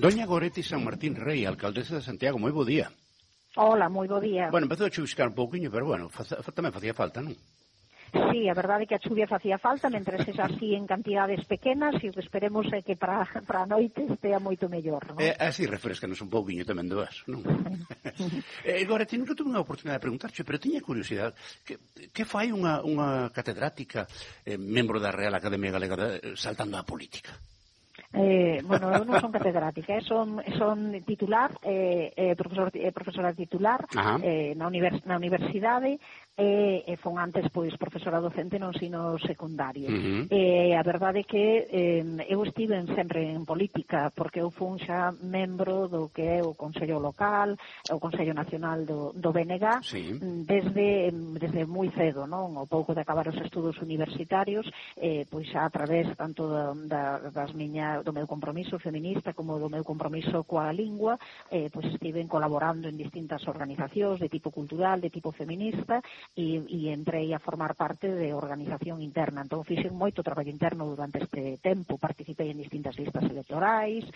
Doña Goretti San Martín Rei, alcaldesa de Santiago, moi bo día. Hola, moi bo día. Bueno, empezou a chuviscar un pouquiño, pero bueno, tamén facía falta, non? Sí, a verdade é que a chuvia facía falta, mentre sexa así en cantidades pequenas, e o que esperemos é que para a noite estea moito mellor, non? Así refrescanos un pouquiño tamén do vaso, non? Goretti, nunca tuve unha oportunidade de preguntarche, pero tiña curiosidade, que fai unha catedrática, membro da Real Academia Galega, saltando á política? Bueno, eu non son catedrática, son titular, profesora titular na universidade, e fon antes pois profesora docente no ensino secundario. A verdade é que eu estive sempre en política, porque eu fun xa membro do que é o Consello Local, o Consello Nacional do BNG, desde moi cedo, non? O pouco de acabar os estudos universitarios, pois xa a través tanto do meu compromiso feminista como do meu compromiso coa lingua, pois estiven colaborando en distintas organizacións de tipo cultural, de tipo feminista, e entrei a formar parte de organización interna. Entón, fixen moito traballo interno durante este tempo, participei en distintas listas electorais,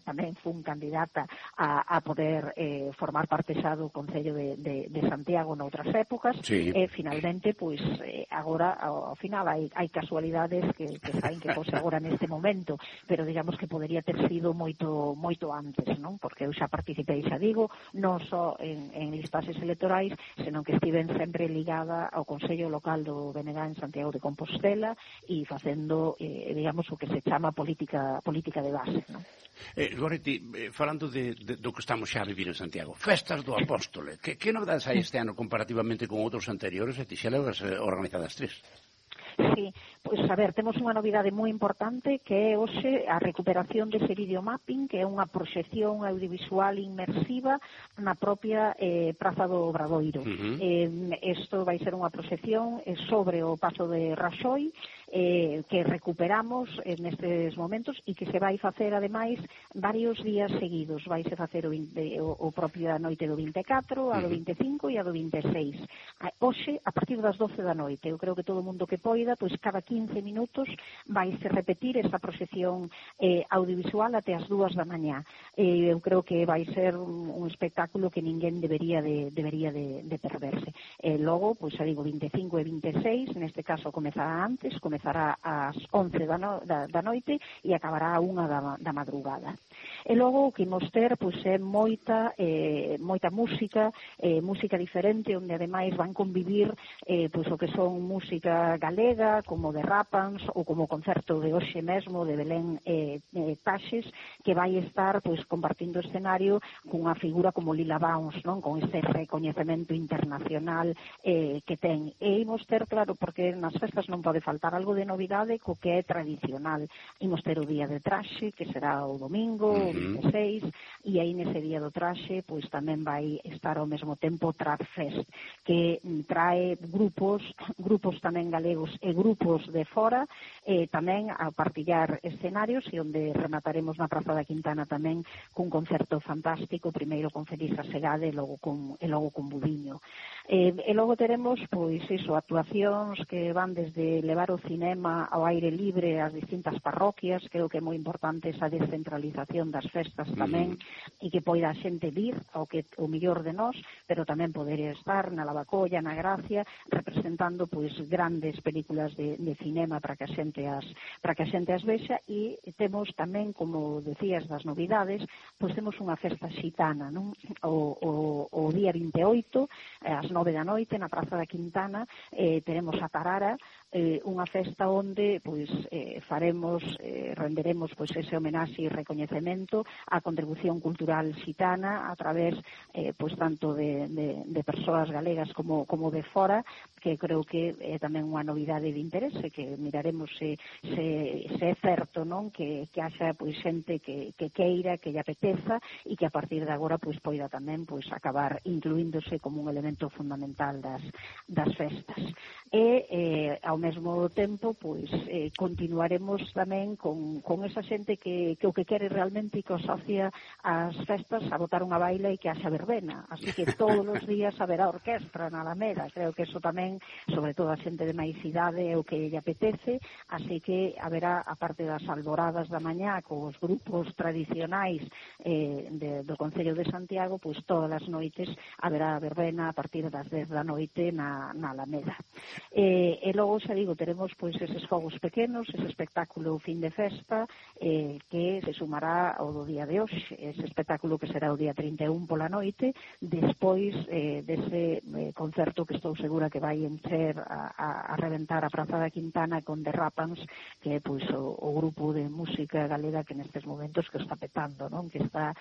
tamén fun candidata a poder formar parte xa do Concello de Santiago noutras épocas, e finalmente, pois, agora, ao final, hai casualidades que saen que fose agora neste momento, pero digamos que podería ter sido moito antes, non? Porque eu xa participei, xa digo, non só en listases electorais, senón que estiven sempre ligada ao Consello Local do BNG en Santiago de Compostela e facendo, digamos, o que se chama política de base, non? Goretti, falando do que estamos xa a vivir en Santiago, Festas do Apóstole, que novedades hai este ano comparativamente con outros anteriores, e ti xa levas organizadas 3? Sí, pois a ver, temos unha novidade moi importante que é hoxe a recuperación dese videomapping, que é unha proxección audiovisual inmersiva na propia Praza do Obradoiro. Isto vai ser unha proxección sobre o paso de Raxoi, que recuperamos nestes momentos e que se vai facer ademais varios días seguidos. Vaise facer o propio a noite do 24, a do 25 e a do 26. Hoxe, a partir das 12 da noite, eu creo que todo o mundo que poida, pois cada 15 minutos vaise repetir esa proxección audiovisual até as 2 da mañá. Eu creo que vai ser un espectáculo que ninguén debería de perderse. Logo, pois xa digo, 25 e 26, neste caso comezará antes, comezará ás 11 da noite e acabará a 1 da madrugada. E logo o que imos ter pois é moita música diferente, onde ademais van convivir pois o que son música galega, como de Rapans ou como o concerto de hoxe mesmo de Belén Taxes, que vai estar pois compartindo escenario cunha figura como Lila Downs, non? Con este recoñecemento internacional que ten. E imos ter, claro, porque nas festas non pode faltar algo de novidade co que é tradicional. Imos ter o día de traxe, que será o domingo, o 26, e aí nese día do traxe pois tamén vai estar ao mesmo tempo Trad Fest, que trae grupos tamén galegos e grupos de fora, tamén a partillar escenarios, e onde remataremos na Praza da Quintana tamén cun concerto fantástico, primeiro con Felisa Segade e logo con Budiño. E logo teremos pois iso, actuacións que van desde levar o cinema ao aire libre ás distintas parroquias. Creo que é moi importante esa descentralización das festas tamén, e que poida a xente vir ao que o mellor de nós, pero tamén poder estar na Lavacolla, na Gracia, representando pois grandes películas de cinema para que a xente as vexa. E temos tamén, como decías, das novidades, pois temos unha festa xitana, non? O día 28, ás 9 da noite, na Praza da Quintana, teremos a Tarara, unha festa onde pois renderemos pois ese homenaxe e recoñecemento á contribución cultural xitana a través pois tanto de persoas galegas como de fora, que creo que é tamén unha novidade de interese, que miraremos se é certo, non? Que haxa pois xente que queira, que lle apeteza, e que a partir de agora pois poida tamén pois acabar incluíndose como un elemento fundamental das festas. E ao mesmo tempo, pois continuaremos tamén con esa xente que o que quere realmente que asocia as festas a botar unha baila e que haxa verbena, así que todos os días haberá orquestra na Alameda. Creo que eso tamén, sobre todo a xente de máis idade, é o que lle apetece, así que haberá, a parte das alboradas da mañá cos grupos tradicionais do Concello de Santiago, pois todas as noites haberá verbena a partir das 10 da noite na Alameda. E logo, xa digo, teremos pois eses fogos pequenos, ese espectáculo fin de festa que se sumará ao do día de hoxe, ese espectáculo que será o día 31 pola noite, despois dese concerto que estou segura que vai encher a reventar a Praza da Quintana con The Rapans, que é pois o grupo de música galega que nestes momentos que está petando, non? Que está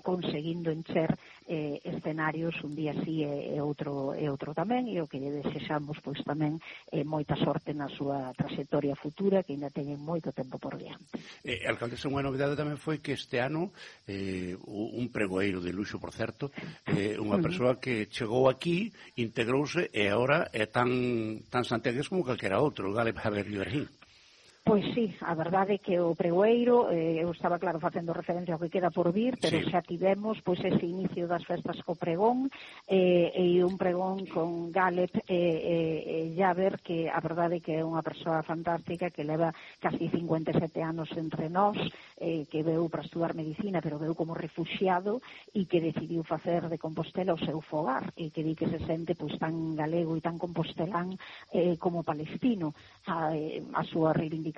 conseguindo encher escenarios un día así e outro tamén, e o que lle desexamos pois tamén moita sorte na súa trayectoria futura, que ainda teñen moito tempo por diante. Alcaldesa, unha novidade tamén foi que este ano un pregoeiro de luxo, por certo, unha persoa que chegou aquí, integrouse e agora é tan santiagués como calquera outro, Galeb Javier Ibrahim. Pois sí, a verdade é que o pregoeiro, eu estaba claro facendo referencia ao que queda por vir, pero sí, xa tivemos pois ese inicio das festas co pregón e un pregón con Galeb Javer, que a verdade é que é unha persoa fantástica, que leva casi 57 anos entre nós, que veu para estudar medicina, pero veu como refuxiado e que decidiu facer de Compostela o seu fogar, e que di que se sente pois tan galego e tan compostelán como palestino. A súa reivindicación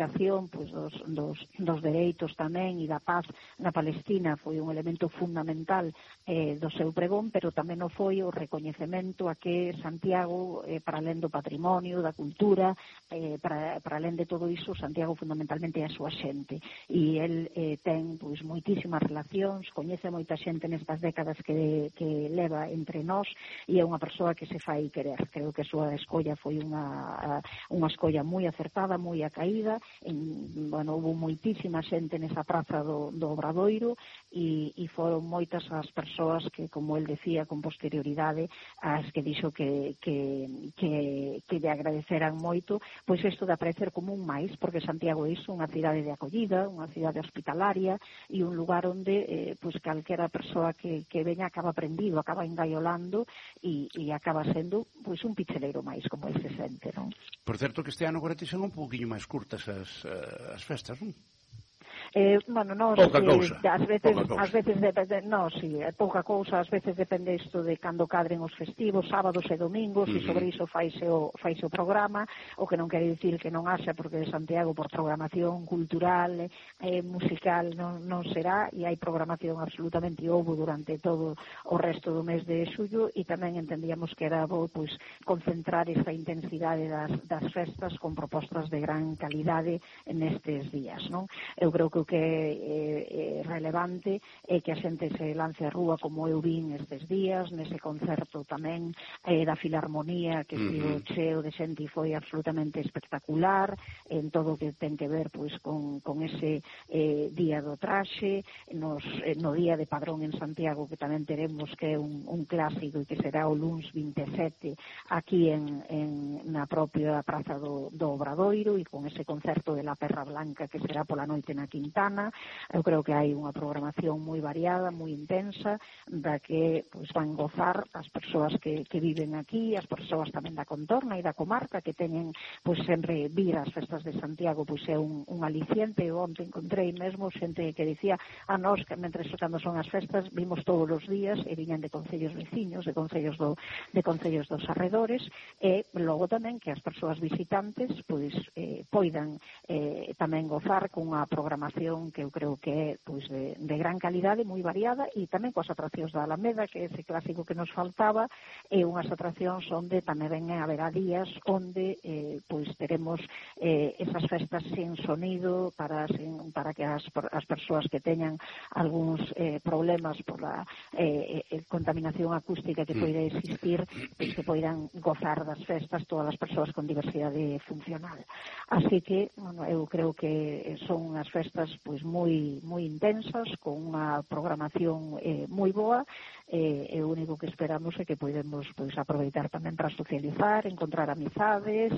pois, dos dereitos tamén e da paz na Palestina foi un elemento fundamental do seu pregón, pero tamén o foi o recoñecemento a que Santiago, para alén do patrimonio, da cultura, para alén de todo iso, Santiago fundamentalmente é a súa xente, e el ten pois moitísimas relacións, coñece moita xente nestas décadas que leva entre nós, e é unha persoa que se fai querer. Creo que a súa escolla foi unha escolla moi acertada, moi acaída. Houve moitísima xente nesa praza do Obradoiro e foron moitas as persoas que, como el decía con posterioridade, as que dixo que lle agradeceran moito pois isto de aparecer como un máis, porque Santiago é iso, unha cidade de acollida, unha cidade hospitalaria e un lugar onde pois calquera persoa que veña acaba aprendido, acaba engaiolando e acaba sendo pois un picheleiro máis, como el se sente, non? Por certo que este ano agora son un pouquinho máis curtas as festas, non? Pouca cousa. Ás veces depende, pouca cousa, ás veces depende isto de cando cadren os festivos, sábados e domingos, e sobre iso faise o programa, o que non quere dicir que non haxa, porque de Santiago por programación cultural, musical non será, e hai programación absolutamente, houbo durante todo o resto do mes de xullo, e tamén entendíamos que era bo pois concentrar esta intensidade das festas con propostas de gran calidade nestes días, non? Eu creo que o que é relevante é que a xente se lance a rúa como eu vin estes días, nese concerto tamén da Filarmonía, que estivo cheo de xente e foi absolutamente espectacular en todo o que ten que ver pois con ese día do traxe, no día de Padrón en Santiago, que tamén teremos, que é un clásico e que será o luns 27 aquí na propia Praza do Obradoiro, e con ese concerto de La Perra Blanca que será pola noite na Quintana. Eu creo que hai unha programación moi variada, moi intensa, da que pois van gozar as persoas que viven aquí, as persoas tamén da contorna e da comarca, que teñen pois sempre vir as festas de Santiago, pois é un aliciente. Eu onte encontrei mesmo xente que dicía a nós que mentres cando son as festas vimos todos os días, e viñan de concellos veciños, de concellos dos arredores, e logo tamén que as persoas visitantes pois poidan tamén gozar cunha programación que eu creo que é pois de gran calidade, moi variada, e tamén coas atraccións da Alameda, que é ese clásico que nos faltaba, e unhas atraccións onde tamén haberá días onde pois teremos esas festas sin sonido para que as persoas que teñan algúns problemas por a contaminación acústica que poida existir, pois que poidan gozar das festas todas as persoas con diversidade funcional. Así que, eu creo que son unhas festas festas pois moi intensas, con unha programación moi boa, e o único que esperamos é que podemos pois aproveitar tamén para socializar, encontrar amizades,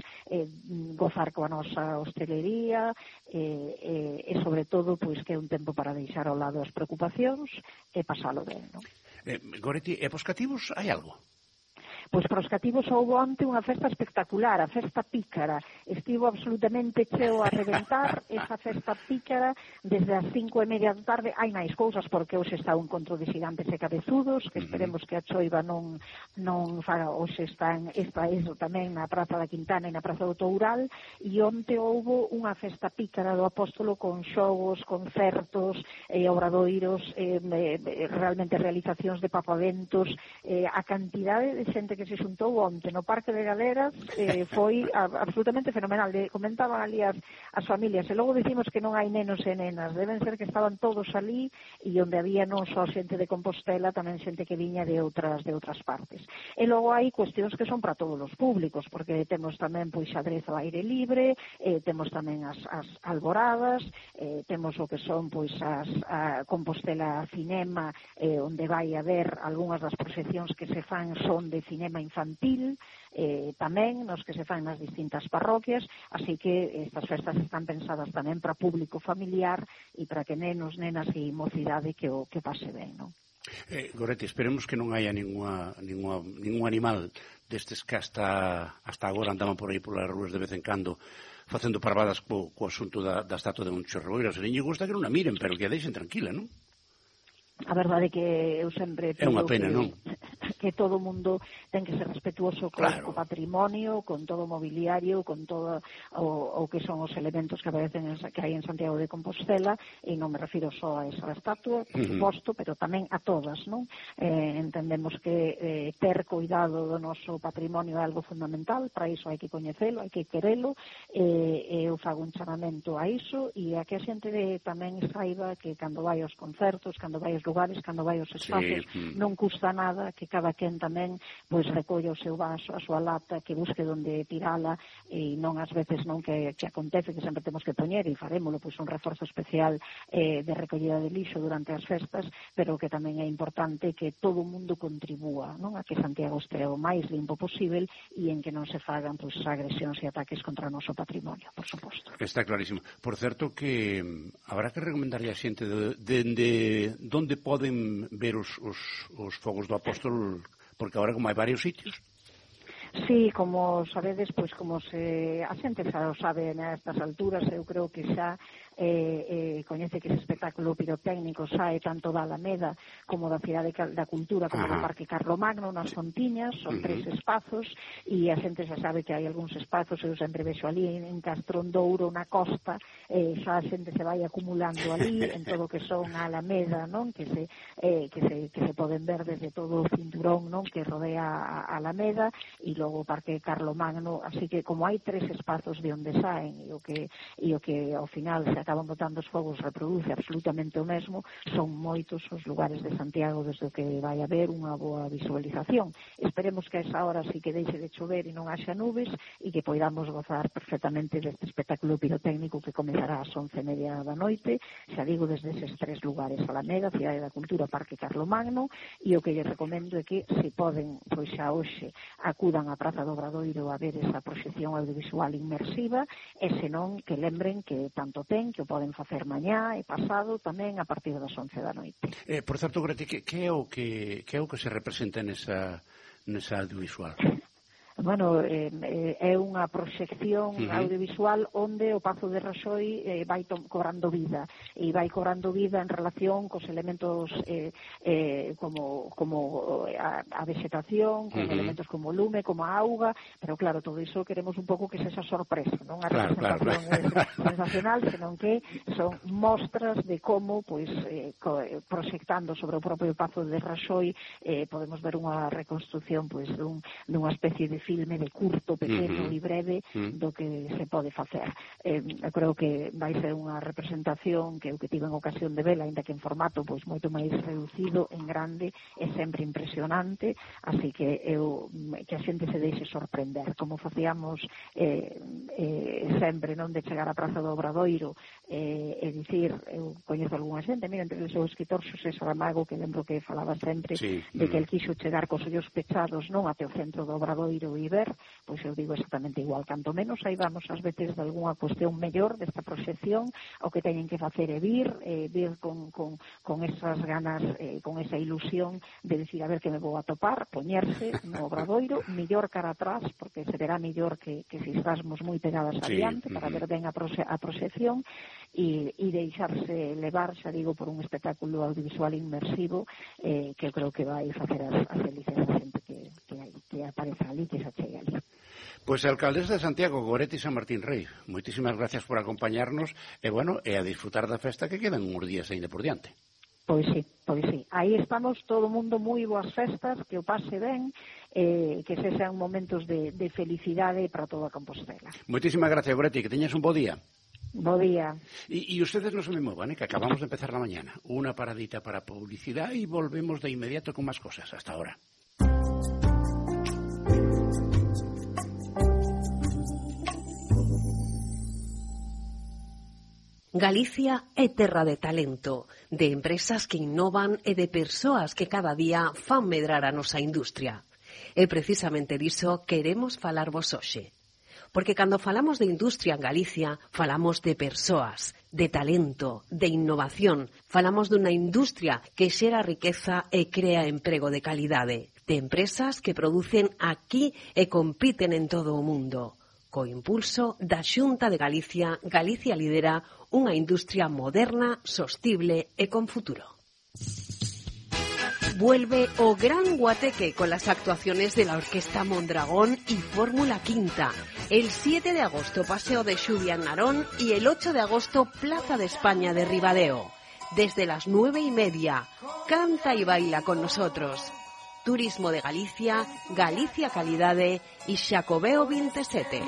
gozar coa nosa hostelería, e sobre todo pois que é un tempo para deixar ao lado as preocupacións e pasalo ben, non? Goretti, e pos cativos hai algo? Pois para os cativos houve onte unha festa espectacular, a festa pícara. Estivo absolutamente cheo a reventar esa festa pícara desde as 5:30 da tarde. Hai máis cousas porque hoxe está un encontro de xigantes e cabezudos, que esperemos que a choiva non faga. Hoxe está iso tamén na Praza da Quintana e na Praza do Toural, e onte houve unha festa pícara do Apóstolo con xogos, concertos, obradoiros, realmente realizacións de papaventos, a cantidade de xente que se xuntou onte no Parque de Galeras foi absolutamente fenomenal. Comentaban ali as familias, e logo dicimos que non hai nenos e nenas, deben ser que estaban todos ali, e onde había non só xente de Compostela, tamén xente que viña de outras partes. E logo hai cuestións que son para todos os públicos, porque temos tamén pois xadrez ao aire libre, temos tamén as alboradas, temos o que son pois a Compostela Cinema, onde vai haber algunhas das proxeccións que se fan son de cinema infantil, tamén nos que se fan nas distintas parroquias, así que estas festas están pensadas tamén para público familiar e para que nenos, nenas e mocidade que pase ben, non? Goretti, esperemos que non haya ningún animal destes que hasta agora andaban por aí polas ruas de vez en cando facendo parvadas co asunto da estatua de Moncho Reboiro. Se lle gusta que non a miren, pero que a deixen tranquila, non? A verdade é que eu sempre é unha pena, non? Que todo o mundo ten que ser respetuoso co patrimonio, con todo o mobiliario, con todo o que son os elementos que aparecen que hai en Santiago de Compostela, e non me refiro só a esa estatua, por suposto, pero tamén a todas, non? Entendemos que ter cuidado do noso patrimonio é algo fundamental, para iso hai que coñecelo, hai que querelo, e eu fago un chamamento a iso, e a que a xente tamén saiba que cando vai aos concertos, cando vai aos lugares, cando vai aos espacios, non custa nada que cada quen tamén pois recolla o seu vaso, a súa lata, que busque onde tirala, e non ás veces non que acontece que sempre temos que poñer, e farémolo pois un reforzo especial de recollida de lixo durante as festas, pero que tamén é importante que todo o mundo contribúa, non, a que Santiago estea o máis limpo posible e en que non se fagan pois agresións e ataques contra o noso patrimonio, por suposto. Está clarísimo. Por certo que habrá que recomendarlle a xente de onde poden ver os fogos do Apóstol, porque agora como hai varios sitios. Sí, como sabedes, pois como a xente xa o sabe nestas alturas, eu creo que xa coñece que ese espectáculo pirotécnico sae tanto da Alameda como da Cidade da Cultura como do Parque Carlomagno, nas Fontiñas, son 3 espazos, e a xente xa sabe que hai algúns espazos, eu sempre vexo ali en Castrondouro, na costa, xa a xente se vai acumulando ali, en todo o que son a Alameda, non? Que se poden ver desde todo o cinturón, non? Que rodea a Alameda, e logo o Parque Carlomagno, así que como hai 3 espazos de onde saen, e o que ao final se acaban botando os fogos reproduce absolutamente o mesmo, son moitos os lugares de Santiago desde o que vai haber unha boa visualización. Esperemos que a esa hora sí que deixe de chover e non haxa nubes, e que poidamos gozar perfectamente deste espectáculo pirotécnico que comezará ás 11:30 da noite, xa digo, desde eses 3 lugares: Alameda, Cidade da Cultura, Parque Carlomagno, e o que lle recomendo é que, se poden, pois xa hoxe acudan á Praza do Obradoiro a ver esa proxección audiovisual inmersiva, e senón que lembren que tanto ten que o poden facer mañá e pasado tamén a partir das 11 da noite. Por certo, Goretti, que é o que se representa nesa audiovisual? Bueno, é unha proxección audiovisual onde o Pazo de Raxoi vai cobrando vida, e vai cobrando vida en relación cos elementos como a vegetación, con elementos como o lume, como a auga, pero claro, todo iso queremos un pouco que sexa sorpresa, non a representación sensacional, senón que son mostras de como, pois, proxectando sobre o propio Pazo de Raxoi, podemos ver unha reconstrucción, pois, dunha especie de filme de curto, pequeno e breve do que se pode facer. Eu creo que vai ser unha representación que eu que tive en ocasión de vela, ainda que en formato pois moito máis reducido, en grande, é sempre impresionante, así que que a xente se deixe sorprender, como facíamos sempre, non, de chegar á Praza do Obradoiro é dicir, eu coñezo algunha xente, mira, entre o escritor Xosé Saramago, que lembro que falaba sempre de que el quixo chegar cos ollos pechados non até o centro do Obradoiro e ver, pois eu digo exactamente igual, canto menos aí vamos ás veces de algunha cuestión mellor desta proxección, o que teñen que facer é vir con esas ganas, con esa ilusión de decir, a ver que me vou a topar, poñerse no Obradoiro, millor cara atrás, porque se verá millor que se estásmos moi pegadas adiante, para ver ben a proxección, e deixarse levar, xa digo, por un espectáculo audiovisual inmersivo que eu creo que vai facer as felices a xente que aparece ali, que se achega ali. Pois a alcaldesa de Santiago, Goretti San Martín Rei, moitísimas gracias por acompañarnos e a disfrutar da festa que quedan uns días ainda por diante. Pois sí. Aí estamos todo o mundo moi boas festas, que o pase ben, que se sean momentos de felicidade para toda Compostela. Moitísimas gracias, Goretti, que teñas un bo día. Bo día. Y ustedes no se me muevan, que acabamos de empezar la mañana. Una paradita para publicidad y volvemos de inmediato con más cosas. Hasta ahora. Galicia é terra de talento, de empresas que innovan e de persoas que cada día fan medrar a nosa industria. E precisamente diso queremos falarvos hoxe. Porque cando falamos de industria en Galicia, falamos de persoas, de talento, de innovación. Falamos dunha industria que xera riqueza e crea emprego de calidade, de empresas que producen aquí e compiten en todo o mundo. Co impulso da Xunta de Galicia, Galicia lidera unha industria moderna, sostible e con futuro. Vuelve o Gran Guateque con las actuaciones de la Orquesta Mondragón y Fórmula Quinta. El 7 de agosto Paseo de Xubia en Narón y el 8 de agosto Plaza de España de Ribadeo. Desde las 9:30, canta y baila con nosotros. Turismo de Galicia, Galicia Calidade y Xacobeo 27.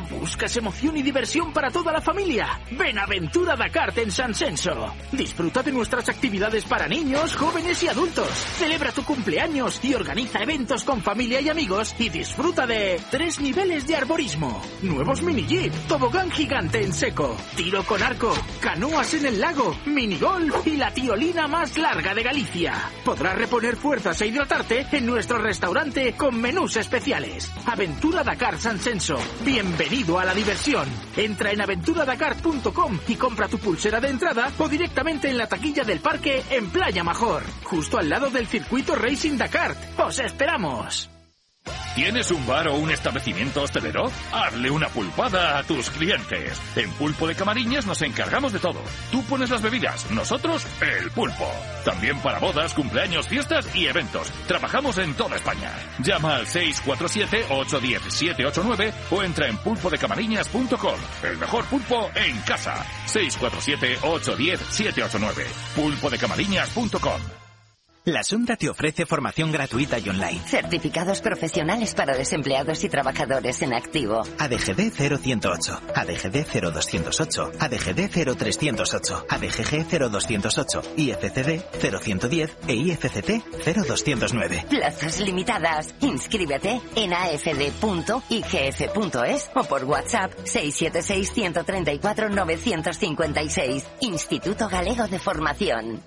¿Buscas emoción y diversión para toda la familia? Ven a Aventura Dakar en San Censo. Disfruta de nuestras actividades para niños, jóvenes y adultos. Celebra tu cumpleaños y organiza eventos con familia y amigos y disfruta de 3 niveles de arborismo, nuevos mini jeep, tobogán gigante en seco, tiro con arco, canoas en el lago, minigolf y la tiolina más larga de Galicia. Podrás reponer fuerzas e hidratarte en nuestro restaurante con menús especiales. Aventura Dakar San Censo. Bienvenido a la diversión. Entra en aventuradakar.com y compra tu pulsera de entrada o directamente en la taquilla del parque en Playa Major, justo al lado del circuito Racing Dakar. ¡Os esperamos! ¿Tienes un bar o un establecimiento hostelero? Hazle una pulpada a tus clientes. En Pulpo de Camariñas nos encargamos de todo. Tú pones las bebidas, nosotros el pulpo. También para bodas, cumpleaños, fiestas y eventos. Trabajamos en toda España. Llama al 647-810-789 o entra en pulpodecamariñas.com. El mejor pulpo en casa. 647-810-789. pulpodecamariñas.com. La Xunta te ofrece formación gratuita y online. Certificados profesionales para desempleados y trabajadores en activo. ADGD 0108, ADGD 0208, ADGD 0308, ADGG 0208, IFCD 0110 e IFCT 0209. Plazas limitadas. Inscríbete en afd.igf.es o por WhatsApp 676 134 956. Instituto Galego de Formación.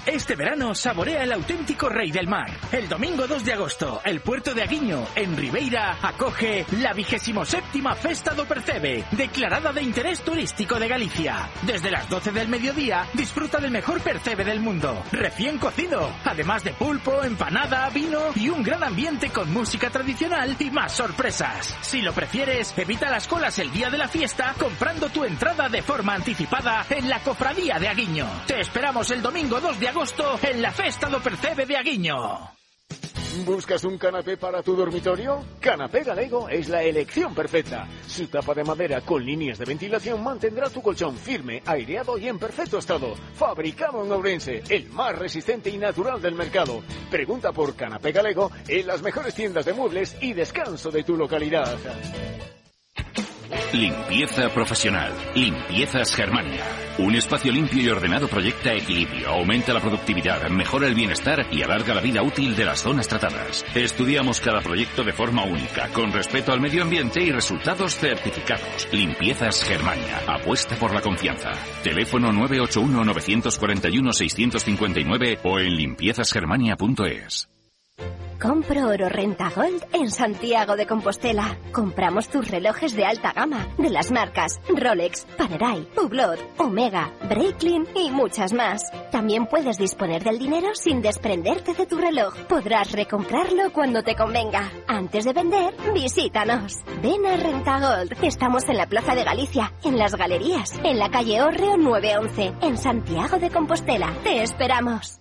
Este verano saborea el auténtico rey del mar. El domingo 2 de agosto, el puerto de Aguiño, en Ribeira, acoge la 27ª Festa do Percebe, declarada de interés turístico de Galicia. Desde las 12 del mediodía, disfruta del mejor percebe del mundo, recién cocido, además de pulpo, empanada, vino y un gran ambiente con música tradicional y más sorpresas. Si lo prefieres, evita las colas el día de la fiesta comprando tu entrada de forma anticipada en la Cofradía de Aguiño. Te esperamos el domingo 2 de agosto en la Festa do Percebe de Aguiño. ¿Buscas un canapé para tu dormitorio? Canapé Galego es la elección perfecta. Su tapa de madera con líneas de ventilación mantendrá tu colchón firme, aireado y en perfecto estado. Fabricado en Ourense, el más resistente y natural del mercado. Pregunta por Canapé Galego en las mejores tiendas de muebles y descanso de tu localidad. Limpieza profesional. Limpiezas Germania. Un espacio limpio y ordenado proyecta equilibrio, aumenta la productividad, mejora el bienestar y alarga la vida útil de las zonas tratadas. Estudiamos cada proyecto de forma única, con respeto al medio ambiente y resultados certificados. Limpiezas Germania. Apuesta por la confianza. Teléfono 981-941-659 o en limpiezasgermania.es. Compro Oro Renta Gold en Santiago de Compostela. Compramos tus relojes de alta gama, de las marcas Rolex, Panerai, Hublot, Omega, Breitling y muchas más. También puedes disponer del dinero sin desprenderte de tu reloj. Podrás recomprarlo cuando te convenga. Antes de vender, visítanos. Ven a Renta Gold. Estamos en la Plaza de Galicia, en Las Galerías, en la calle Hórreo 911, en Santiago de Compostela. Te esperamos.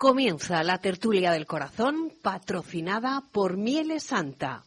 Comienza la tertulia del corazón, patrocinada por Mieles Santa.